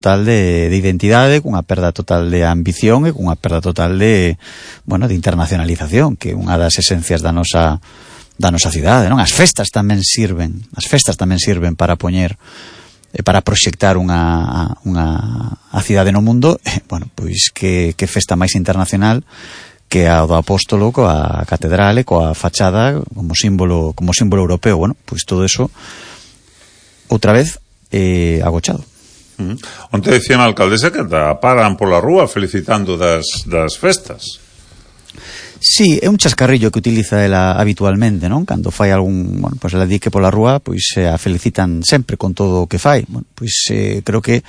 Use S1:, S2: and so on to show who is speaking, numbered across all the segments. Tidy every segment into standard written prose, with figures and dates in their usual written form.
S1: total de identidade, cunha perda total de ambición e cunha perda total de internacionalización, que é unha das esencias da nosa cidade, non? As festas tamén sirven para poñer para proxectar a cidade no mundo, pois que festa máis internacional que a do Apóstolo coa catedral e coa fachada como símbolo europeo. Pois todo eso outra vez agochado.
S2: Onte decía a alcaldesa que paran pola rúa felicitando das festas.
S1: Sí, é un chascarrillo que utiliza ela habitualmente, non? Cando fai algún, pois ela di que pola rúa pois a felicitan sempre con todo o que fai. Creo que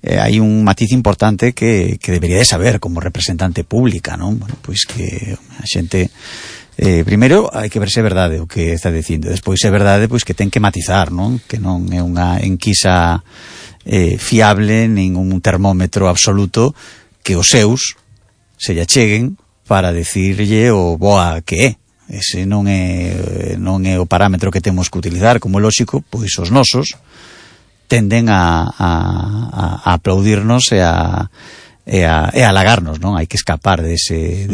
S1: hai un matiz importante que debería de saber como representante pública, non? Pois que a xente primeiro hai que ver se é verdade o que está dicindo, despois é verdade pois que ten que matizar, non? Que non é unha enquisa fiable, ningún termómetro absoluto que os seus se lle cheguen para decirlle o boa que é. Ese non é o parámetro que temos que utilizar. Como é lóxico, pois os nosos tenden a aplaudirnos e a halagarnos, non? Hai que escapar dese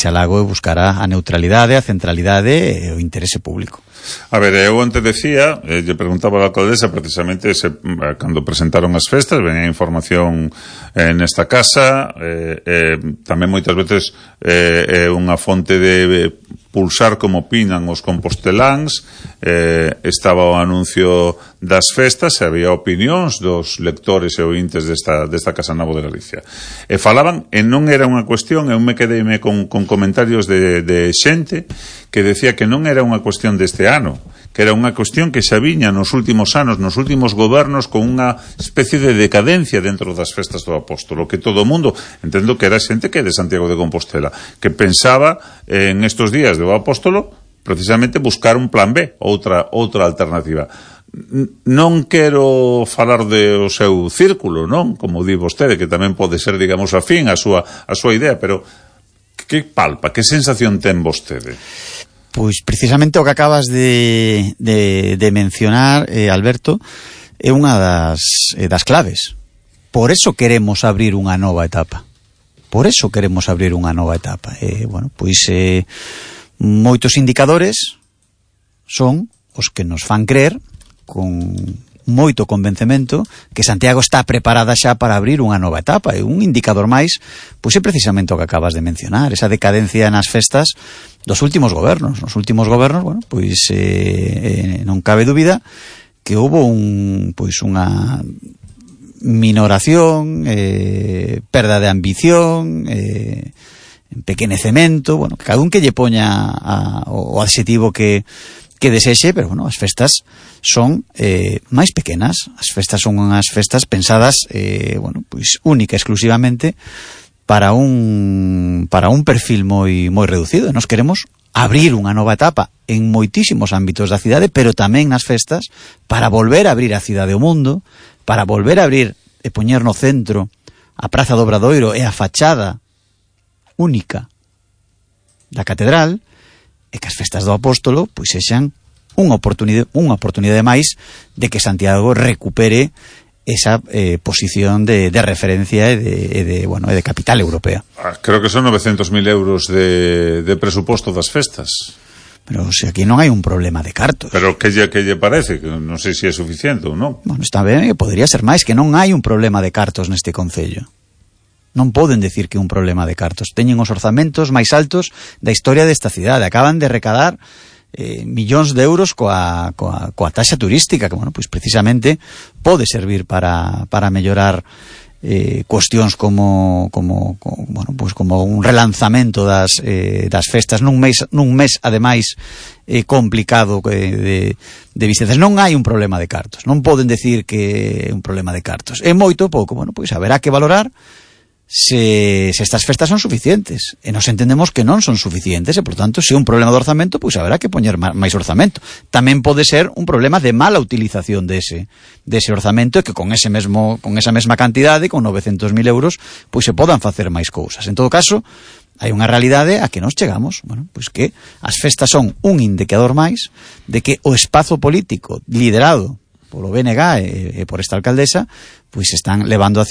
S1: halago e buscar a neutralidade, a centralidade e o interese público.
S2: A ver, eu antes decía, lle preguntaba a alcaldesa precisamente cando presentaron as festas, venía información nesta casa, tamén moitas veces unha fonte de pulsar como opinan os composteláns, estaba o anuncio das festas e había opinións dos lectores e ointes desta Casa Nova de Galicia. E falaban, e non era unha cuestión, eu me quedeime con comentarios de xente que decía que non era unha cuestión deste ano, que era unha cuestión que xa viña nos últimos anos, nos últimos gobernos, con unha especie de decadencia dentro das festas do Apóstolo, que todo o mundo, entendo que era xente que é de Santiago de Compostela, que pensaba en estos días do Apóstolo precisamente buscar un plan B, outra alternativa. Non quero falar do seu círculo, non? Como di vostede, que tamén pode ser, digamos, afín a súa idea, pero que palpa, que sensación ten vostede?
S1: Pois precisamente o que acabas de mencionar, Alberto, é unha das claves. Por eso queremos abrir unha nova etapa. Moitos indicadores son os que nos fan crer con moito convencemento que Santiago está preparada xa para abrir unha nova etapa, e un indicador máis pois é precisamente o que acabas de mencionar, esa decadencia nas festas dos últimos gobernos. Nos últimos gobernos, non cabe dúbida que houbo unha minoración, perda de ambición, empequenecemento, cada un que lle poña o adxetivo que desexe, pero as festas son máis pequenas. As festas son unhas festas pensadas única exclusivamente para un perfil moi reducido. Nos queremos abrir unha nova etapa en moitísimos ámbitos da cidade, pero tamén nas festas, para volver a abrir a cidade ao mundo, para volver a abrir e poñer no centro a Praza do Obradoiro e a fachada única da catedral, e que as festas do Apóstolo pois sexan unha oportunidade máis de que Santiago recupere esa posición de referencia e de capital europea.
S2: Creo que son 900.000 euros de presuposto das festas.
S1: Pero se aquí non hai un problema de cartos.
S2: Pero que lle parece? Que non sei se é suficiente ou non.
S1: Está ben, podría ser máis, que non hai un problema de cartos neste concello. Non poden decir que é un problema de cartos. Teñen os orzamentos máis altos da historia desta cidade. Acaban de recadar millóns de euros coa taxa turística, que pois precisamente pode servir para mellorar cuestións como un relanzamento das festas nun mes ademais complicado de visitas. Non hai un problema de cartos. Non poden decir que é un problema de cartos. É moito pouco. Pois haberá que valorar se estas festas son suficientes, e nos entendemos que non son suficientes, e por tanto, se é un problema de orzamento, pois haberá que poñer máis orzamento. Tamén pode ser un problema de mala utilización dese orzamento, e que con esa mesma cantidade, con 900.000 euros, pois se podan facer máis cousas. En todo caso, hai unha realidade a que nos chegamos, pois que as festas son un indicador máis de que o espazo político liderado polo BNG e por esta alcaldesa, pois están levando a